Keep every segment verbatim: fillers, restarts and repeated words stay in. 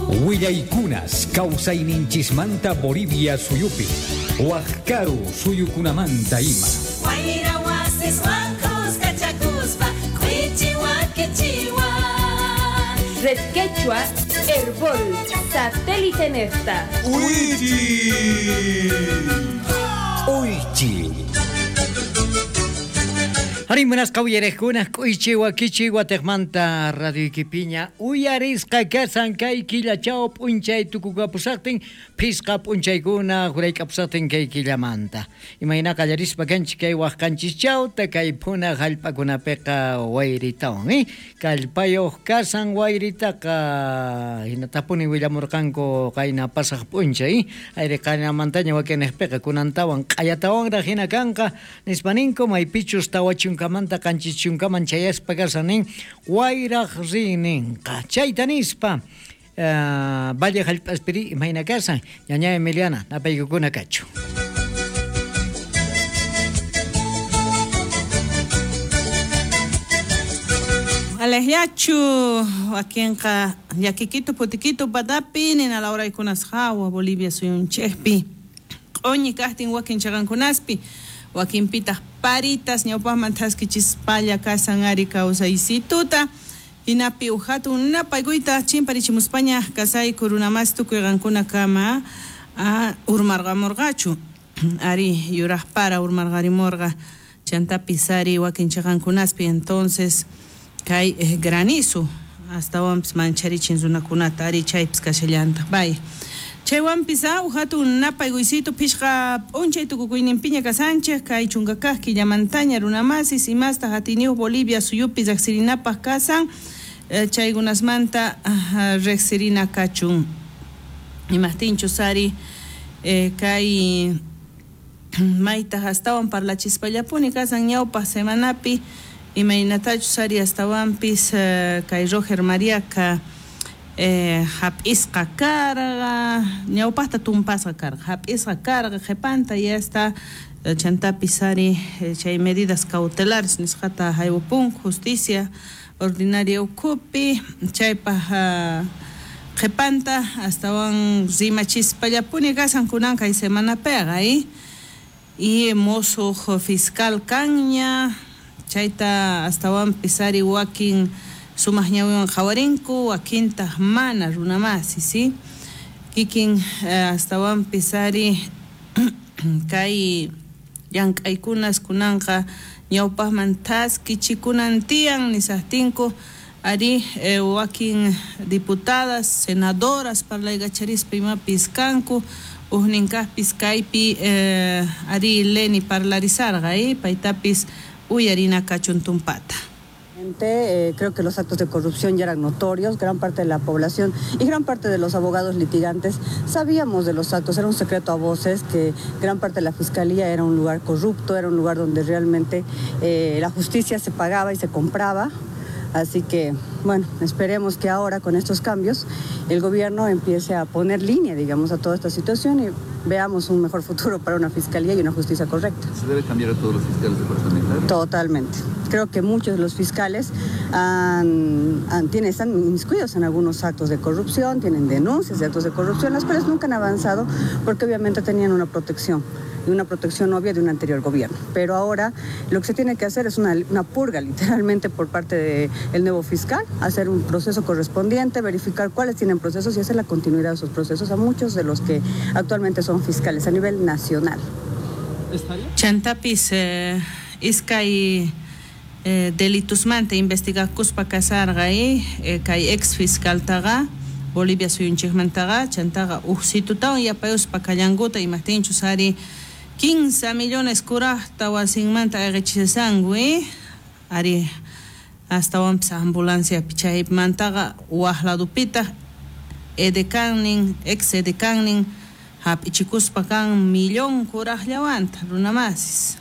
Willaykunas kawsayninchismanta Bolivia suyupi, waqkaru suyukunamanta ima. Wayra wasiswan kuskachakuspa k'uichiwa kichiwa. Red Quechua, Herbol, Satélite Nefta. Uychi! Uychi! Arí, munasqa uyariqkuna k'uychi wakichi wataqmanta radio ikipiña uyarisqa kasan kay killachaw p'unchay tukukapusaqtin phisqa p'unchaykuna jurayk'apusaqtin kay killamanta. Imayna qallarispa kanchik kay waqqanchischawta kay phuna hallp'akunapiqa wayritawan, eh? Kallpayuq kasan wayritaqa hinatapuni willamurqanku qayna pasaq p'unchay, eh? Ayri qaynamantaña wakinniqpiqa kunantawan q'ayatawanraq hina kanqa nispa ninku maypichus tawa chunkamanta qanchis chunkaman chayaspa kasan nin wayraq rinninqa chayta nispa uh, Valle hallp'aspiri imayna kasan ñaña Emiliana napaykukuna kachu. Alejachu wakinqa llakikitu putikitu patapi nina lawraykunas hawa Bolivia suyunchikpi q'uñi kaqtin wakin chaqankunaspi wakinpitaq paritas ñawpaqman thaskichispalla kasan ari kawsaysituta hinapi uj hatun napaykuyta chimparichimuspaña kasayku runamas tukuy qankunakama urmarqamurqachu ari yuraq para urmarqarimurqa chantapis ari wakin chaqankunaspi entonces kay eh, granizo astawanpis mancharichin runakunata ari chaypis kashallantaq bay chaywanpis uj hatun napaykuysitu phishqa p'unchay tukukuyninpiña kasanchik kay chunka kaq killamantaña runamasis imastaq atiyniyuq Bolivia suyupi riqsirinapaq kasan eh, chaykunasmanta riqsirina kachun imaqtinchus ari eh, kay maytaq astawan parlachispallapuni kasan ñawpaq semanapi imaynatachus ari astawanpis eh, kay Roger Mariaqa Eh, hap'isqa karqa ñawpaqta tumpasqa karqa hap'isqa karqa qhipanta y hasta chantapis ari chay medidas cautelares nisqata haywapunku justicia ordinaria ukhupi chaypaq qhipanta astawan rimachispallapuni kasan kunan kay semanapiqa eh? Y musuq fiscal kanña chayta astawanpis ari wakin sumaq ñawiwan qhawarinku wakintaq mana runamasi si kikin eh, astawanpis ari kay llank'aykunas kunanqa ñawpaqman thaskichikunan tiyan nisaqtinku ari eh, wakin diputadas senadoras parlaykacharispa imapis kanku ujninkaqpis kaypi eh, ari Leni parlarisarqa eh, paytapis uyarina kachun tumpata. Eh, creo que los actos de corrupción ya eran notorios, gran parte de la población y gran parte de los abogados litigantes sabíamos de los actos, era un secreto a voces que gran parte de la fiscalía era un lugar corrupto, era un lugar donde realmente eh, la justicia se pagaba y se compraba. Así que, bueno, esperemos que ahora con estos cambios el gobierno empiece a poner línea, digamos, a toda esta situación y veamos un mejor futuro para una fiscalía y una justicia correcta. ¿Se debe cambiar a todos los fiscales departamentales? Totalmente. Creo que muchos de los fiscales han, han, tienen, están inmiscuidos en algunos actos de corrupción, tienen denuncias de actos de corrupción, las cuales nunca han avanzado porque obviamente tenían una protección, y una protección obvia de un anterior gobierno. Pero ahora lo que se tiene que hacer es una, una purga literalmente por parte del nuevo fiscal, hacer un proceso correspondiente, verificar cuáles tienen procesos y hacer la continuidad de esos procesos a muchos de los que actualmente son fiscales a nivel nacional. Chantapis eh, iskay eh, delitusmanta investigakuspa kasarqa eh, kay ex fiscaltaqa Bolivia suyunchikmantaqa chantaqa uqsitutawan yapayuspa kallankuta imaqtinchus ari quince millones kuraqta wasinmanta ayqichisanku eh? Ari astawanpis ambulanciapi chaymantaqa waq ladupitaq edekannin ex edekannin hap'ichikuspa kan millón kuraqllawanta runamasis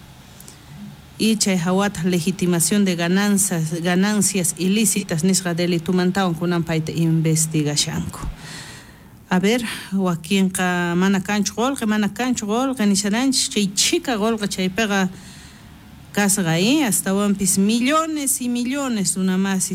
y chay hawataq legitimación de ganancias ganancias ilícitas nisqa delitumantawan kunan payta investigashanku. A ver, wakinqa mana kanchu qullqi, mana kanchu qullqi nisharanchik chay chhika qullqi chaypiqa kasqa eh? Astawanpis millones y millones runamasis.